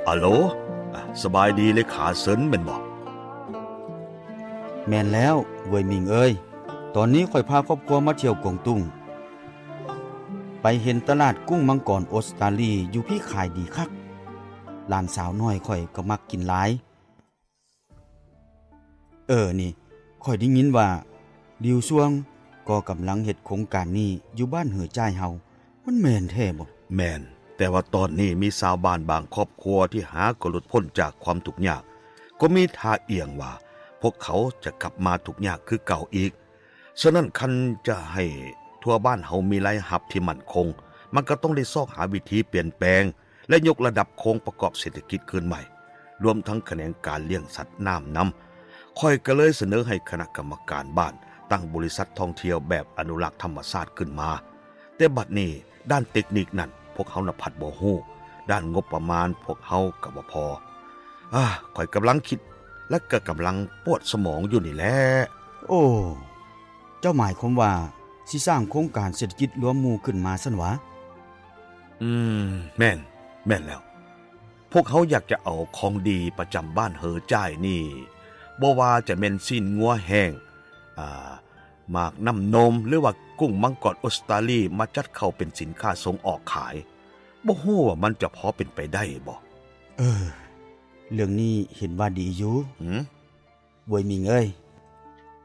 ອາໂຫຼ ສະບາຍດີເລຂາເຊິນແມ່ນບໍ່? ແມ່ນແລ້ວ ເຫວີຍມິງເອີຍ, ຕອນນີ້ຂ້ອຍພາຄອບຄົວມາທ່ຽວກົງຕຸງ ໄປເຫັນຕະຫຼາດກຸ້ງມັງກອນອົດສະຕາລີຢູ່ພີ້ຂາຍດີຄັກ, ຫຼານສາວນ້ອຍຂ້ອຍກໍມັກກິນຫຼາຍ. ເອີ ນີ້ ຂ້ອຍໄດ້ຍິນວ່າ ລິວຊວງ ກໍກຳລັງເຮັດໂຄງການນີ້ຢູ່ບ້ານເຫີຈ່າຍເຮົາ, ມັນແມ່ນແທ້ບໍ່? ແມ່ນ, ແຕ່ວ່າຕອນນີ້ມີຊາວບ້ານບາງຄອບຄົວທີ່ຫາກໍຫຼຸດພົ້ນຈາກຄວາມທຸກຍາກ, ກໍມີທ່າອ່ຽງວ່າພວກເຂົາຈະກັບມາທຸກຍາກຄືເກົ່າອີກ. ສະນັ້ນຄັນຈະໃຫ້ທົ່ວບ້ານເຮົາມີລາຍຮັບທີ່ໝັ້ນຄົງ, ມັນກໍຕ້ອງໄດ້ຊອກຫາວິທີປ່ຽນແປງ ແລະ ຍົກລະດັບໂຄງປະກອບເສດຖະກິດຄືນໃໝ່, ລວມທັງຂະແໜງການລ້ຽງສັດນ້ຳນຳ. ຂ້ອຍກໍເລີຍສະເໜີໃຫ້ຄະນະກຳມະການບ້ານຕັ້ງບໍລິສັດທ່ອງທ່ຽວແບບອະນຸລັກທຳມະຊາດຂຶ້ນມາ. ແຕ່ບັດນີ້ດ້ານເຕັກນິກນັ້ນພວກເຮົານະພັດບໍ່ຮູ້, ດ້ານງົບປະມານພວກເຮົາກໍບໍ່ພໍ. ອາ, ຂ້ອຍກຳລັງຄິດ ແລະ ກໍກຳລັງປວດສະໝອງຢູ່ນີ້ແຫຼະ. ໂອ້, ເຈົ້າໝາຍຄວາມວ່າຊິສ້າງໂຄງການເສດຖະກິດລວມໝູ່ຂຶ້ນມາຊັ້ນຫວາ? ອືມ, ແມ່ນ, ແມ່ນແລ້ວ. ພວກເຮົາຢາກຈະເອົາຂອງດີປະຈຳບ້ານເຫີຈ່າຍນີ້, ບໍ່ວ່າຈະແມ່ນຊີ້ນງົວແຫ້ງ, ອາ, ໝາກນ້ຳນົມ ຫຼືວ່າກຸ້ງມັງກອນອົດສະຕາລີ ມາຈັດເຂົ້າເປັນສິນຄ້າສົ່ງອອກຂາຍ. ບໍ່ຮູ້ວ່າມັນຈະພໍເປັນໄປໄດ້ບໍ່? ເອີ, ເລື່ອງນີ້ເຫັນວ່າດີຢູ່. ຫືມ? ເຫວີຍມິງເອີຍ,